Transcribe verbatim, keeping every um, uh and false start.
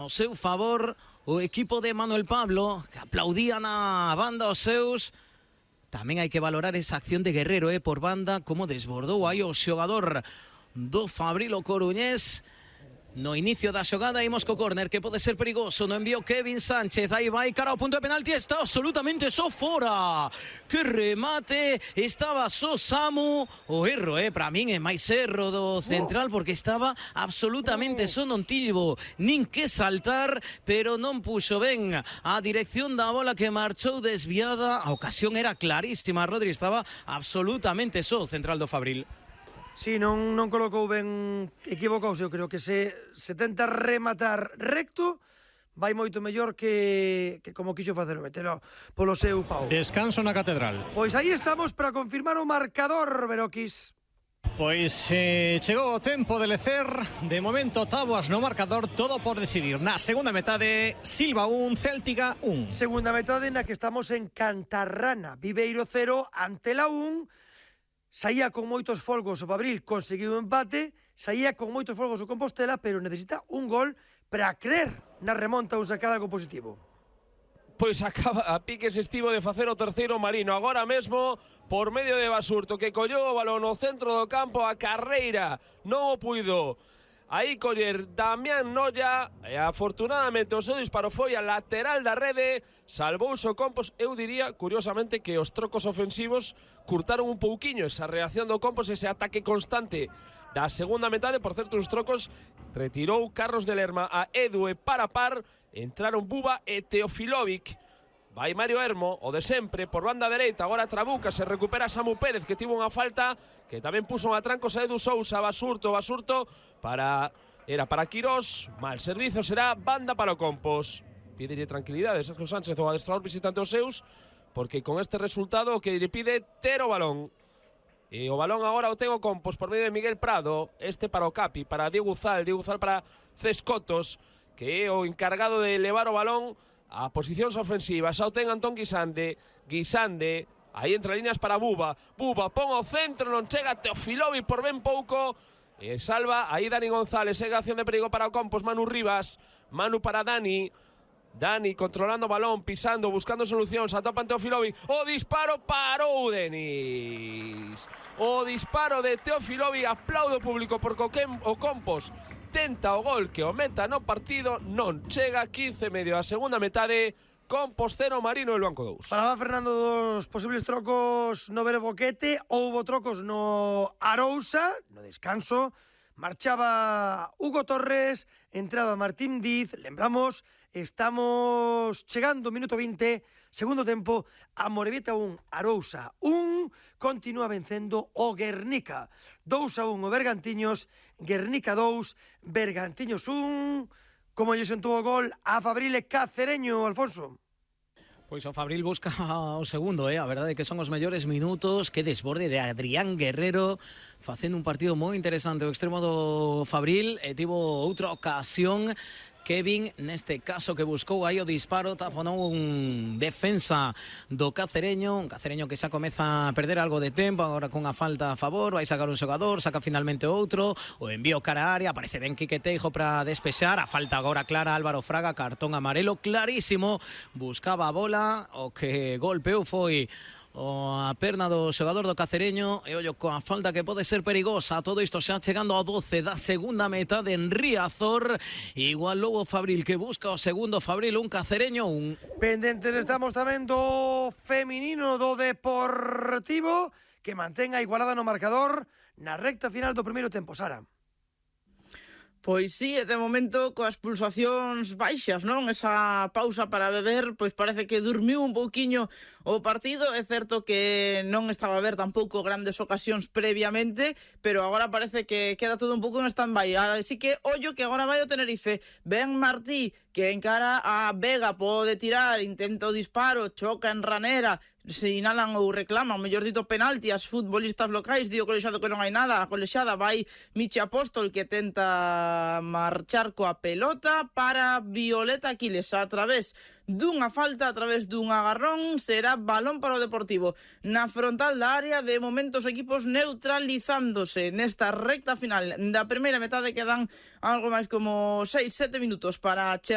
ao seu favor o equipo de Manuel Pablo, que aplaudían a banda aos seus. Tamén hai que valorar esa acción de Guerrero eh, por banda, como desbordou aí o xogador do Fabril o coruñés. No inicio da xogada imos co córner, que pode ser perigoso. No envío Kevin Sánchez, aí vai cara ao punto de penalti, está absolutamente só fora. Que remate, estaba só Samu. O erro, eh, para min é máis erro do central, porque estaba absolutamente só, non tivo nin que saltar, pero non puxo ben a dirección da bola, que marchou desviada. A ocasión era clarísima, Rodri, estaba absolutamente só o central do Fabril. Sí, non, non colocou ben, equivocouse. Eu creo que se, se tenta rematar recto, vai moito mellor que, que como quixo facer, metelo polo seu pau. Descanso na Catedral. Pois aí estamos para confirmar o marcador, Beroquis. Pois eh, chegou o tempo de lecer. De momento, táboas no marcador, todo por decidir. Na segunda metade, Silva un, Céltica un. Segunda metade na que estamos en Cantarrana. Viveiro cero, Antela un. Saía con moitos folgos o Fabril, conseguiu un empate. Saía con moitos folgos o Compostela, pero necesita un gol para creer na remonta ou sacar algo positivo. Pois acaba a piques estivo de facer o terceiro Marino. Agora mesmo, por medio de Basurto, que collou o balón no centro do campo, a carreira non o puido aí coller Damián Noya, e afortunadamente o seu disparo foi a lateral da rede, salvouse o Compos. Eu diría, curiosamente, que os trocos ofensivos curtaron un pouquiño esa reacción do Compos, ese ataque constante da segunda metade. Por certo, os trocos retirou Carlos de Lerma a Edu e para par, entraron Buba e Teofilovic. Vai Mario Hermo, o de sempre, por banda dereita. Agora Trabuca, se recupera Samu Pérez, que tivo unha falta, que tamén puso un atrancos a Edu Sousa. Basurto, Basurto, para... era para Quirós. Mal servizo, será banda para o Compos. Pídelle tranquilidade Sergio Sánchez, o adestrador visitante os seus, porque con este resultado o que lle pide ter o balón. E o balón agora o ten o Compos por medio de Miguel Prado. Este para o Capi, para Diego Uzal, Diego Uzal para Cescotos, que é o encargado de levar o balón a posicións ofensivas. Xa o ten Antón Guisande. Guisande, aí entre líneas para Buba. Buba pon ao centro, non chega Teofilovic por ben pouco. E salva aí Dani González. Ega acción de perigo para o Compos. Manu Rivas. Manu para Dani. Dani controlando o balón, pisando, buscando solucións. Atopa Teofilovic. O disparo parou Denis. O disparo de Teofilovic. Aplaudo público porque o Compos tenta o gol que o meta no partido, non chega. Quince e medio a segunda metade, Compos cero, Marino e Luanco dous. Falaba Fernando dos posibles trocos no Verboquete. Houbo trocos no Arousa, no descanso. Marchaba Hugo Torres, entraba Martín Diz. Lembramos, estamos chegando minuto vinte, segundo tempo, a Morevieta un, Arousa un. Continúa vencendo o Guernica dous a un o Bergantiños, Guernica dous, Bergantiños un. Como lle sentou o gol a Fabril e Cacereño, Alfonso? Pois o Fabril busca o segundo, eh? A verdade é que son os mellores minutos. Que desborde de Adrián Guerrero, facendo un partido moi interesante o extremo do Fabril, e tivo outra ocasión Kevin, neste caso, que buscou aí o disparo, taponou un defensa do Cacereño, un Cacereño que xa comeza a perder algo de tempo, agora con a falta a favor, vai sacar un xogador, saca finalmente outro, o envío cara a área, aparece ben Quique Teijo para despexar, a falta agora clara Álvaro Fraga, cartón amarelo clarísimo, buscaba a bola, o que golpeou foi o a perna do xogador do Cacereño, e ollo coa falta que pode ser perigosa. Todo isto xa chegando ao doce da segunda metade en Riazor. Igual logo Fabril, que busca o segundo. Fabril un, Cacereño un. Pendentes estamos tamén do feminino do Deportivo, que mantén a igualada no marcador na recta final do primeiro tempo. Sara. Pois sí, de momento coas pulsacións baixas, non? Esa pausa para beber, pois parece que dormiu un pouquiño o partido. É certo que non estaba a ver tampouco grandes ocasións previamente, pero agora parece que queda todo un pouco en stand-by. Así que ollo que agora vai o Tenerife. Ben Martí, que encara a Vega, pode tirar, intenta o disparo, choca en ranera, sinalan ou reclaman, mellor dito penalti as futbolistas locais. Dio o colexado que non hai nada. A colexada vai Michi Apóstol, que tenta marchar coa pelota para Violeta Aquiles a través dunha falta, a través dun agarrón. Será balón para o Deportivo na frontal da área. De momento os equipos neutralizándose nesta recta final da primeira metade. Quedan algo máis como seis sete minutos para chegar